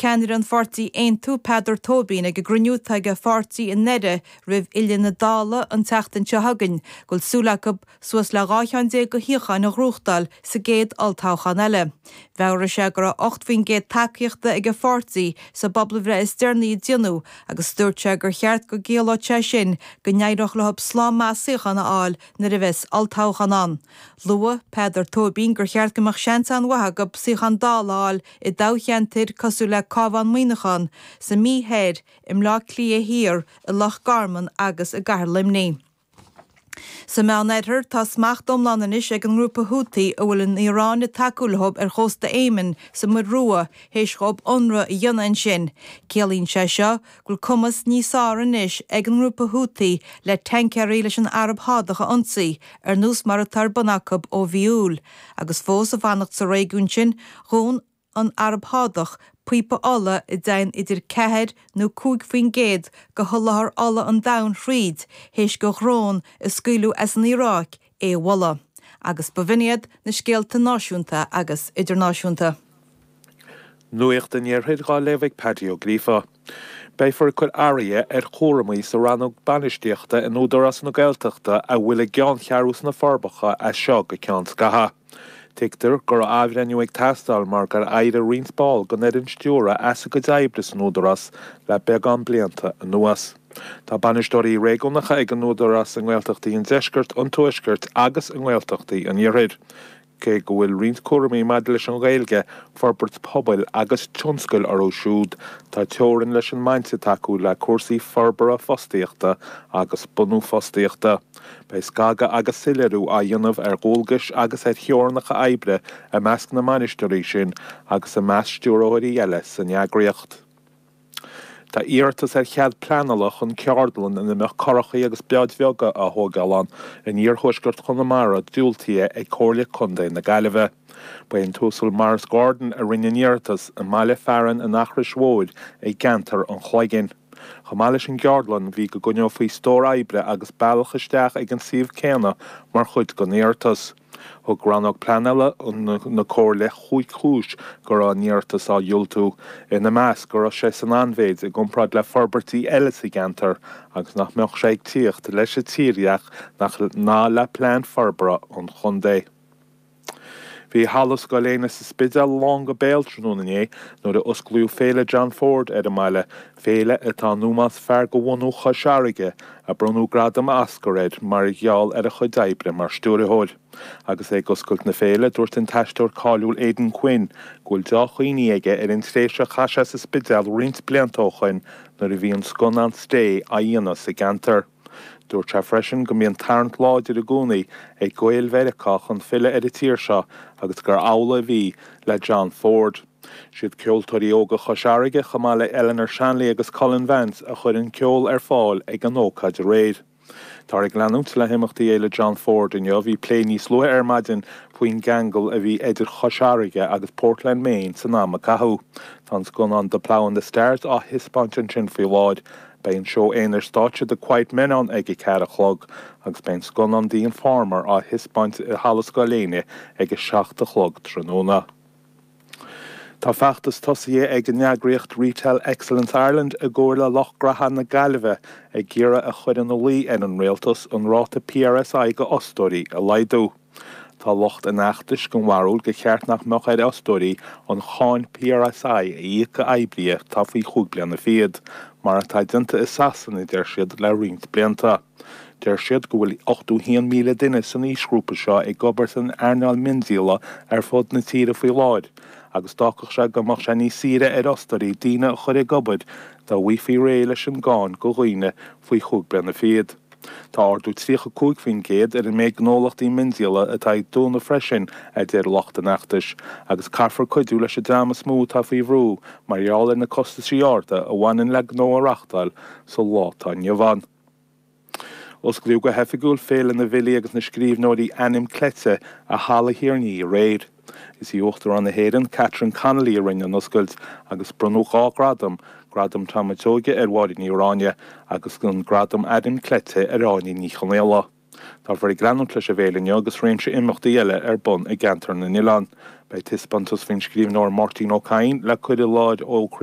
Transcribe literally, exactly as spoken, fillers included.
ceannaire an pháirtí Aontú Peadar Tóibín ag an gcruinniú atá ag a pháirtí i nDoire roimh fhilleadh na Dála an tseachtain seo chugainn, go bhfuil súil acu suas le dhá cheann déag de shuíocháin a ghnóthachtáil sa gcéad olltoghchán eile. Mheabhraigh sé go raibh ocht faoin gcéad tacaíochta ag a pháirtí sa bpobalbhreith is deireanaí a déanadh agus dúirt sé gur cheart go gciallódh sé sin go n-éireodh leo slám maith suíochán a fháil nuair a bheas olltoghchán ann. Luaigh Peadar Tóibín gur cheart go mbeadh seans an-mhaith acu suíochán Dála a fháil i dtoghcheantair cosúil le Cabhán Muineachán, sa Mhí Thoir, i mBleá Cliath Thiar, i Loch Garman agus i gCathair Luimnigh. Sa Meánoirthear, tá smacht iomlán anois ag an ngrúpa Houthi a bhfuil an Iaráin ag tacú leo ar chósta Éimin sa Muir Rua théis dhóibh ionradh a dhéanamh ansin. Ciallaíonn sé seo go bhfuil cumas níos fearr anois ag an ngrúpa Houthi le tancaeirí leis an Araib Shádach a ionsaí, ar nós mar atá ar bun acu ó mhí Iúil, agus fós ag fanacht sa réigiún sin, dhún an Araib Shádach píopa ola a dtéann idir ceathair nó cúig faoin gcéad de sholáthar ola an domhain thríd, théis do dhrón a scaoileadh as an Iaráic é a bhualadh. Agus b'in iad na scéalta náisiúnta agus idirnáisiúnta. Nuacht an Iarthair á léamh ag Paddy Ó Gríofa. Beifear ag cur athruithe ar chúraimí sa rannóg bainistíochta in Údarás na Gaeltachta a bhfuil a gceanncheathrú sna Forbacha as seo go ceann scathaimh. Tuigtear go raibh athbhreithniú ag teastáil mar gur éirigh roinnt ball den fhoireann stiúrtha as a gcuid oibre san Údarás le beagán blianta anuas. Tá bainisteoirí réigiúnacha ag an Údarás i nGaeltachtaí an Deiscirt, an Tuaiscirt agus i nGaeltachtaí an Iarthair. Cé go bhfuil roinnt cúraimí maidir leis an Ghaeilge, forbairt pobail agus tionscail orthu siúd, tá teorainn leis an mbaint atá acu le cúrsaí forbartha fostaíochta agus bunú fostaíochta. Beidh scagadh agus soiléiriú á dhéanamh ar dhualgais agus ar theorainneacha oibre i measc na mbainisteoirí sin agus i measc stiúrthóirí eile san eagraíocht. Tá iarratas ar chead pleanála chun ceardlann ina mbeadh curachaí agus báid bheaga á thógáil ann in iarthuaisceart Chonamara diúltaithe ag Comhairle Contae na Gaillimhe. Ba é an tUasal Maurice Gordon a rinne an iarratas i mbaile fearainn an Eachrois Mhóir i gceantar an Chloiginn. Chomh maith leis an gceardlann bhí go gcoinneofaí stór oibre agus bealach isteach ag an suíomh céanna mar chuid den iarratas. Thug rannóg pleanála na Comhairle chúig chúis go raibh an iarratas á dhiúltú, ina measc go raibh sé san ainmhéid i gcomparáid le forbairtí eile sa gceantar agus nach mbeadh sé ag tíocht leis an tírdhreach ná le plean forbartha an chontae. Bhí halla Scoil Éanna sa Spidéal lán go béal tráthnóna inné nuair a osclaíodh Féile John Ford ar an mbaile, féile atá in ómós fear de bhunú Chois Fharraige, a bronnadh gradam Oscar air mar gheall ar a chuid oibre mar stiúrthóir. Agus é ag oscailt na féile, dúirt an t-aisteoir cáiliúil Aidan Quinn go bhfuil dea-chuimhní aige ar an tréimhse a chaith sé sa Spidéal roinnt blianta ó shoin nuair a bhí an scannán Stay á dhéanamh sa gceantar. Dúirt sé freisin go mbíonn tarraingt láidir i gcónaí ag Gaeil Mheiriceá chun filleadh ar an tír seo agus gur amhlaidh a bhí le John Ford. Siad ceoltóirí óga Chois Fharraige chomh maith le Eleanor Shanley agus Colin Vance a chuir an ceol ar fáil ag an ócáid aréir. Táthar ag leanúint le himeachtaí Fhéile John Ford inniu, bhí plé níos luaithe ar maidin faoin gceangal a bhí idir Chois Fharraige agus Portland, Maine san am a caitheadh. Tá an scannán The Plough and the Stars á thaispeáint ansin faoi láthair. Beidh an seó aonair stáitse The Quiet Men ann ag a ceathair a chlog, agus beidh an scannán The Informer á thaispeáint i Halla Scoil Éinne ag a seacht a chlog tráthnóna. Tá feachtas tosaithe ag an eagraíocht Retail Excellence Ireland i gcomhar le lucht graithe na Gaillimhe ag iarraidh a chur ina luí ar an rialtas an ráta PRSI do fhostóirí a laghdú. Tá lucht an fheachtais den bharúil gur cheart nach mbeadh ar fhostóirí an cháin PRSI a íoc d'oibrithe atá faoi chúig bliana fichead, mar atá déanta i Sasana deir siad le roinnt blianta. Deir siad go bhfuil ochtó haon míle duine san aoisghrúpa seo ag obair san earnáil miondíola ar fud na tíre faoi láthair, agus d'fhágfadh sé go mbeadh sé níos saoire ar fhostóirí daoine a chur ag obair dá bhfaighfí réidh leis an gcáin do dhaoine faoi chúig bliana fichead. Tá ardú tríocha cúig faoin gcéad ar an méid gnólachtaí miondíola atá ag dúnadh freisin, a deir lucht an fheachtais, agus caithfear cuidiú leis an dream is mó atá faoi bhrú mar gheall ar na costaisí arda a bhaineann le gnó a reáchtáil sa lá atá inniu ann. Osclaíodh go hoifigiúil Féile na bhFilí agus na Scríbhneoirí Ainm Cleite i Halla Thír an Fhia aréir. Is í Uachtarán na hÉireann, Catherine Connolly a rinne an oscailt agus bronnadh dhá ghradam, Gradam Tom Seoige ar Mháire Ní Ráinne agus an Gradam Ainm Cleite ar Áine Ní Chonghaile. Táthar ag leanúint leis an bhféile inniu agus réimse imeachtaí eile ar bun i gceantar na nOileán. Beidh taispeántas faoin scríbhneoir Máirtín Ó Cadhain le cur i láthair ó